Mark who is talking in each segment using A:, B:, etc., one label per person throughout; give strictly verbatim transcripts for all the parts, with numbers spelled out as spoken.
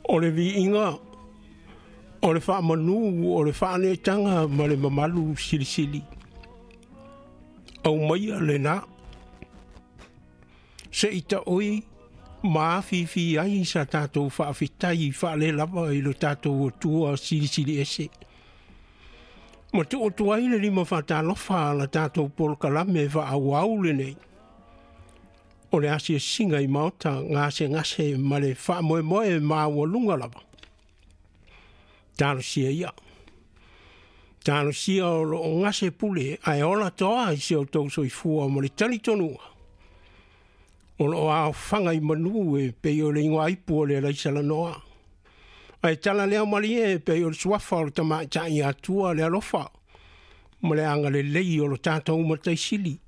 A: O le viiga, o le faamanu, o le faaneetaga ma le mamalu silisili. Aumaia lena, se i taoi ma afifi ai sa tatou faafetai faalelava i lo tatou Atua silisili ese. Ma tuu atu ai le lima faatalofa a la tatou polokalame faaauau lenei. O le asiasiga i maota gasegase ma le faamoemoe maualuga lava. Talosia ia. Talosia o loo gase pule ae ola toa i se outou soifua ma le talitonuga. O loo aofaga i manu e pei o le igoaipu o le Alaisalanoa. Ae tala lea malie e pei o le suafa o le tamaitai Atua le alofa ma le agalelei o lo tatou Mataisili.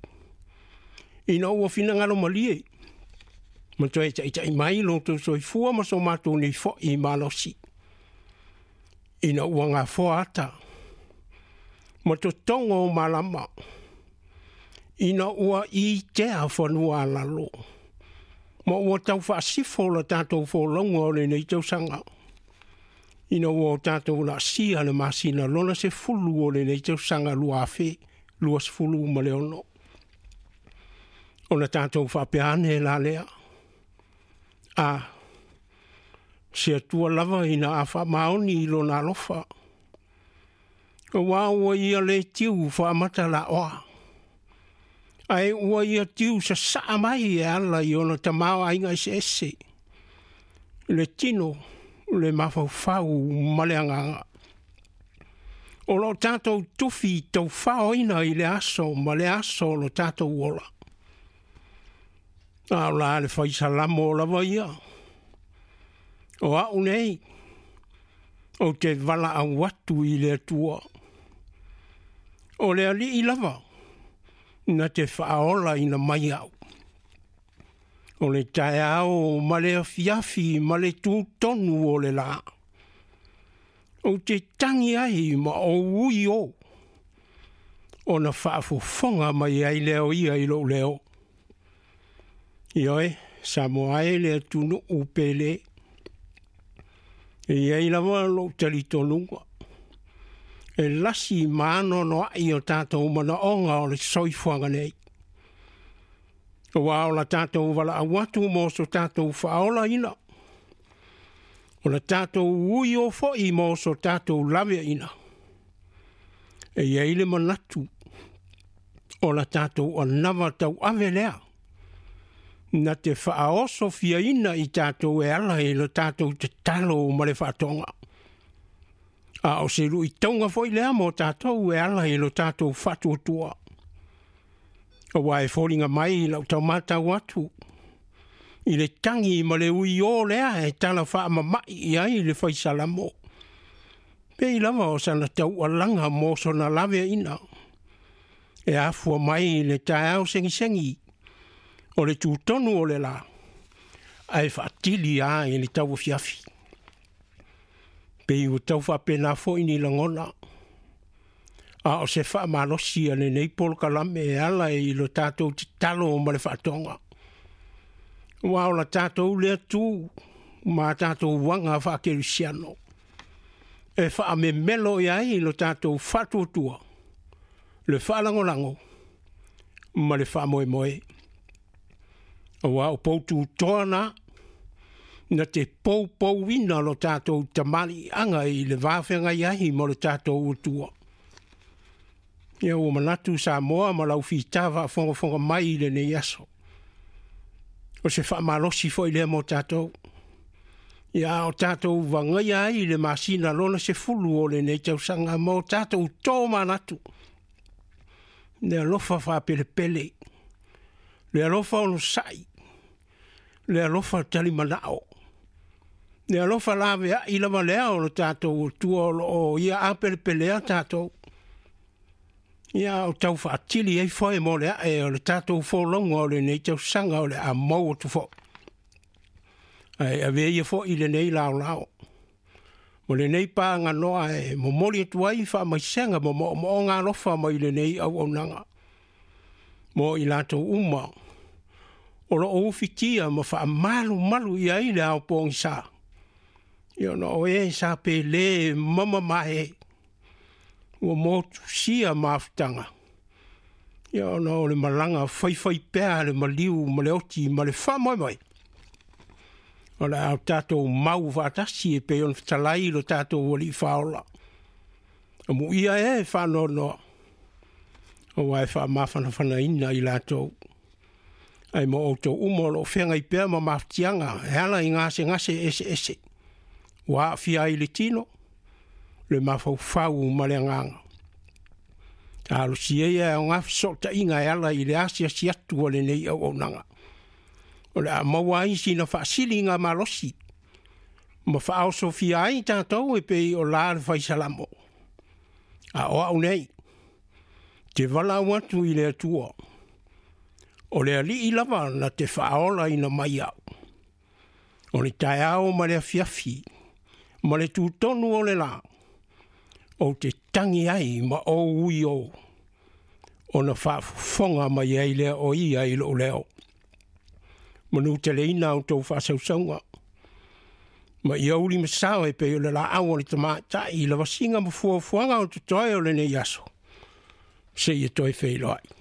A: Ina ua finagalo malie, ma toe taitai mai lo outou soifua ma so matou nei foi malosi. Ina ua gafoa ata, ma totogo o malama, ina ua itea fanua alalo, ma ua tau faasifo la tatou folauga o lenei tausaga. Ina ua o tatou laasia le masina lona sefulu o lenei tausaga lua afe luasefulu ma le ono. Ona tatou faapea ane la lea. A, se Atua lava ina a faamaoni i lona alofa. Aua ua ia le tiu faamata laoa. Ae ua ia tiu sasaa mai e ala i ona tamaoaiga eseese. Le tino, le mafaufau ma le agaga. O lo tatou tufi taufaoina i le aso ma le aso o lo tatou ola. A o la le faisalamo lava ia. O au nei, ou te valaau atu i le Atua. O le alii lava, na te faaola ina mai au. O le taeao ma le afiafi ma le tutonu o le la. Ou te tangi ai ma ou ui o. Ona faafofoga mai ai leo ia i lou leo. Ioe, Samoa e le atunuu pele. E iai lava lou talitonuga. E lasi ma anoanoai o tatou manaoga o le soifuaga nei. Aua o la tatou valaau atu mo so tatou faaolaina. O la tatou ui o foi mo so tatou laveaina. E iai le manatu o la tatou anava tauave lea. Na te faaoso fiaina i tatou e ala i lo tatou tatalo ma le faatoga. A o se luitauga foi lea mo tatou e ala i lo tatou faatuatua. Aua e foliga mai lau taumatau atu i le tagi ma le ui o lea e tala faamamai i ai le faisalamo. Pei lava o sana taualaga mo sona laveaina. E afua mai le taeao segisegi o le tutonu o le la, ae faatili a i le tauafiafi. Pei ua tau faapena foi ni lagona. A o se faamalosi a lenei polokalame e ala i lo tatou tatalo ma le faatoga. Aua o la tatou lea tu ma tatou uaga faakerisiano. E faamemelo i ai lo tatou faatuatua, le faalagolago ma le faamoemoe. Aua o poututoa na, na te poupouina lo tatou tamaliiaga i le vafeagai ai ma lo tatou Atua. Ia ua manatu Samoa ma lau fita faafogafoga mai i lenei aso. O se faamalosi foi lea mo tatou. Ia o tatou vagaia ai le masina lona sefulu o lenei tausaga ma o tatou to manatu. Le alofa faapelepele, le alofa onosai, le alofa talimanao, le alofa laveai lava lea o lo tatou Atua o loo ia apelepelea tatou. Ia o tau faatili ai foe mo le ae o le tatou folauga o lenei tausaga o le a maua atu foi. Ae avea ia foi lenei laolao. Mo lenei paganoa e momoli atu ai faamaisega ma moomooga alofa mai lenei auaunaga. Mo i latou uma o loo ufitia ma faamalumalu i ai le ao pogisa. Ia ona o e sa pele mamamae ua motusia mafutaga. Ia ona o le malaga faifaipea le maliu ma le oti ma le faamoemoe. O le a tatou mau faatasi e pei ona fetalai lo tatou Alii Faaola. Amuia e faanoanoa aua e faamafanafanaina i latou. Ae mo outou uma o loo feagai pea ma mafatiaga e ala i gasegase eseese ua aafia ai le tino, le mafaufau ma le agaga. Talosia ia e aoga fesootaiga e ala i le asiasi atu a lenei auaunaga. O le a maua ai sina faasiliga malosi ma faaosofia ai tatou e pei o la le faisalamo. A o au nei, te valaau atu i le Atua, o le Alii lava na te faaolaina mai au. O le taeao ma le afiafi, ma le tutonu o le la, ou te tangi ai ma ou ui o, ona faafofoga mai ai lea o ia i lou leo. Manuteleina outou faasausauga, ma ia uli masao e pei o le laau o le tamaitai i lavasiga ma fuafuaga o totoe o lenei aso, seia toe feiloai.